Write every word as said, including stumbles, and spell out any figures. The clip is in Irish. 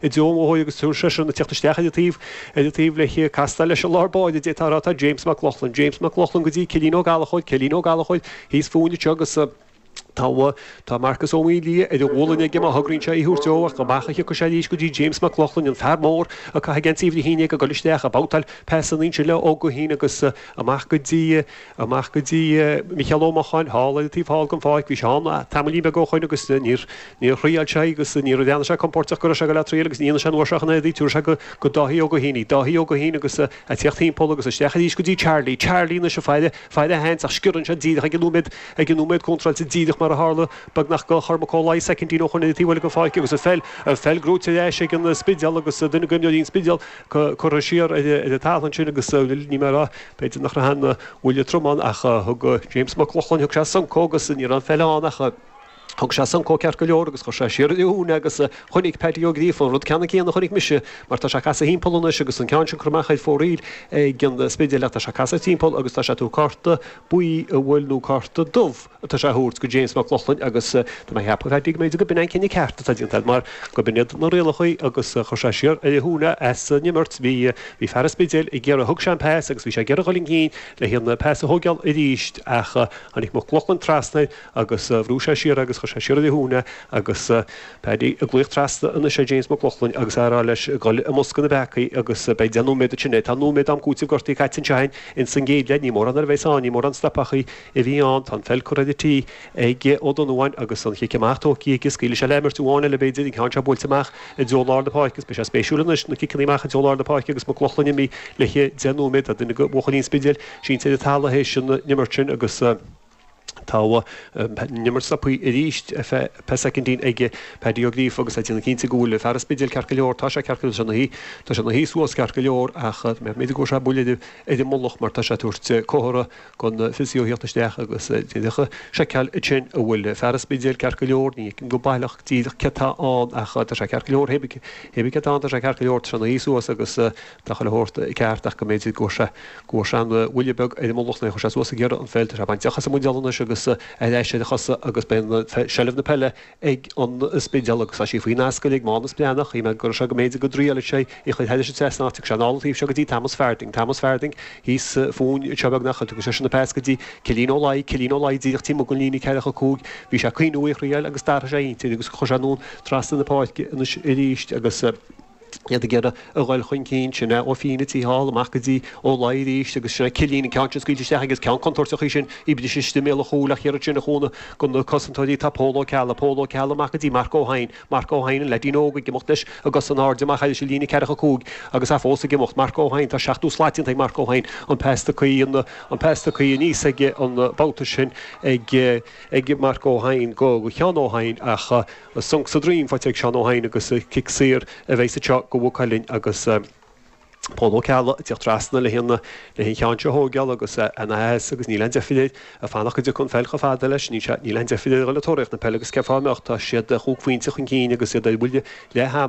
I dtreo an bhóthair agus tabharfaidh seisean ag teacht isteach ar an taobh ar an taobh le castáil leis an lár báire d'fhéadfá a rá tá James Mac Lochlainn James Mac Lochlainn go dtí Cillian Ó Gallchóir Cillian Ó Gallchóir thíos fúinn anseo agus tá tá Marcus Ó Maoildhia ar a ghualainn aige má thograíonn sé í a thabhairt dó ach amach a thiocfaidh sé arís go dtí James Mac Lochlainn an fear mór ag caitheamh geansaí uimhir a haon déag ag dul isteach ag babhtáil pasanna ansin le Ó Guithín agus amach go dtí amach go dtí Micheál Ó Mocháin thall ar an taobh thall den pháirc bhí sé ann tamaillín beag ó shoin agus níor Níor thriail sé agus níor bhreathnaigh sé compóirteach go raibh sé ag dul á triail agus ní dhéanfaidh sé an uair seo ach an oiread í. Tabharfaidh sé go go Dáithí Ó Guithín í. Dáithí Ó Guithín agus a tíocht thimpeall agus isteach arís go dtí Charlie. Charlie anois ag faire, faire a sheans ach sciorann sé díreach ag an nóiméad, ag an nóiméad contráilte díreach mar a tharla beagnach go Chormac Ó Laoi soicindín ó shoin ar an taobh eile den pháirc agus an pheil, an pheil gnóite ar ais ag an Spidéal agus duine d'imreoirí an Spidéil curtha siar ar an talamh ansin agus níl mé ag rá b'fhéidir nach raibh aon bhuille trom ann ach thug James Mac Lochlainn, thug sé soncóg agus ní raibh an pheil ann ach Thug sé soncóg ceart go leor agus chuir sé siar ar a ghiúine agus chonaic Paddy Ó Gríofa an rud ceannann céanna a chonaic mise mar tá sé ag casadh thimpeall anois agus an ceann sin curtha amach ar fóraoil ag an Spidéal ach tá sé ag casadh timpeall agus tá sé ag tabhairt cárta buí an bhfuil nó cárta dubh atá sé a thabhairt go James Mac Lochlainn agus tá mé ag ceapadh Paddy go mb'fhéidir go b'in an cinneadh ceart atá déanta agat mar go b'in iad na rialacha agus chuir sé siar ar a ghiúine as an imirt. Bhí bhí fear an Spidéil ag iarraidh thug sé an pas agus bhí sé ag iarraidh dhul chun cinn le haghaidh an pas a thógáil arís ach tháinig Mac Lochlainn trasna air agus bhrú sé siar agus chuir sé siar ar a ghiúine agus Paddy ag glaoch trasna anois ar James Mac Lochlainn agus á rá leis dhul i mbosca na bpeacaí agus beidh deich nóiméad ansin é. Tá nóiméad am cúitimh gortaithe caite anseo againn ins an gcéad leath. Ní mórán a bheas ann, ní mórán stopachaí a bhí ann. Tá an pheil curtha ar an tí ag Ó Donnabháin agus an chic amach tógtha aige. Scaoilfidh sé le himirt amháin eile b'fhéidir, an ceann seo buailte amach i dtreo lár na páirce agus beidh sé spéisiúil anois na ciceanna amach i dtreo lár na páirce agus Mac Lochlainn imithe le deich nóiméad. Tá duine de bhuachaillí an Spidéil sínte ar an talamh théis an imirt sin agus tá an imirt stoptha arís ar feadh pé soicindín ag Paddy Ó Gríofa agus é ag déanamh cinnte go bhfuil fear an Spidéil ceart go leor. Tá sé ceart go leor, tá sé ina shuí, tá sé ina shuí suas ceart go leor ach b'fhéidir go bhfuair sé buille ar an mullach mar tá sé ag tabhairt comhartha don physio theacht isteach agus déanamh seiceáil ansin an bhfuil fear an Spidéil ceart go leor. Ní fheicim go baileach díreach céard atá ann ach tá sé ceart go leor, hé bith céard atá ann tá sé ceart go leor, tá sé ina shuí suas agus tá chuile shórt ceart ach go mb'fhéidir go bhfuair sé go bhfuair sé an bhuille beag ar an mullach nuair a chuir sé suas ag iarraidh an pheil. Tá sé bainte as an mbuidéal anois agus ar ais ar a chosa agus beidh seilbh na peile ag an Spidéal agus tá sí faoin ascaill ag Mánus Breathnach. Shíl mé go raibh sé go mb'fhéidir go dtriailfeadh sé í a chur thairis an trasnán ach tiocfaidh sé anall an taobh seo go dtí Thomas Farthing. Thomas Farthing thíos fúinn anseo beagnach. Tugann seisean an pas go dtí Cillian Ó Laoi. Cillian Ó Laoi díreach taobh amuigh den líne ceathracha cúig. Bhí sé ag cuimhniú í a thriail agus d'athraigh sé a intinn agus chuir sé anonn trasna na páirce anois arís agus iad ag iarraidh a dhul chun cinn. Sin é Ó Fínneadha thall amach go dtí Ó Laoi arís agus sin é Cillian, an ceann sin scaoilte isteach agus ceann contúirteach é sin, í briste istigh i mbéal an chúil ach thiar ansin a chúnamh do na cosantóirí tá Pól Ó Ceallaigh, Pól Ó Ceallaigh amach go dtí Marc Ó hEidhin, Marc Ó hEidhin, an leaidín óg ag imeacht leis i gcos in airde amach thairis an líne ceathracha cúig agus é fós ag imeacht. Marc Ó hEidhin, tá seachtó slat déanta ag Marc Ó hEidhin, an pas tugtha, an pas tugtha aníos aige an babhta sin ag ag Marc Ó hEidhin go Sheán Ó hEidhin ach Sonc sa droim faighte ag Seán Ó hEidhin agus cic saor a bheidh anseo do Mhaigh Cuilinn agus Pól Ó Ceallaigh ag tíocht trasna le an le an cheann seo a thóigeáil agus ana-dheas agus níl aon deifir air ag fanacht go dtiocfaidh an pheil chomh fada leis. Níl sé níl aon deifir air a dhul ag tóraíocht na peile agus cén fáth a mbeadh? Tá siad chúig phointe chun cinn agus iad ar bhuille leath ama.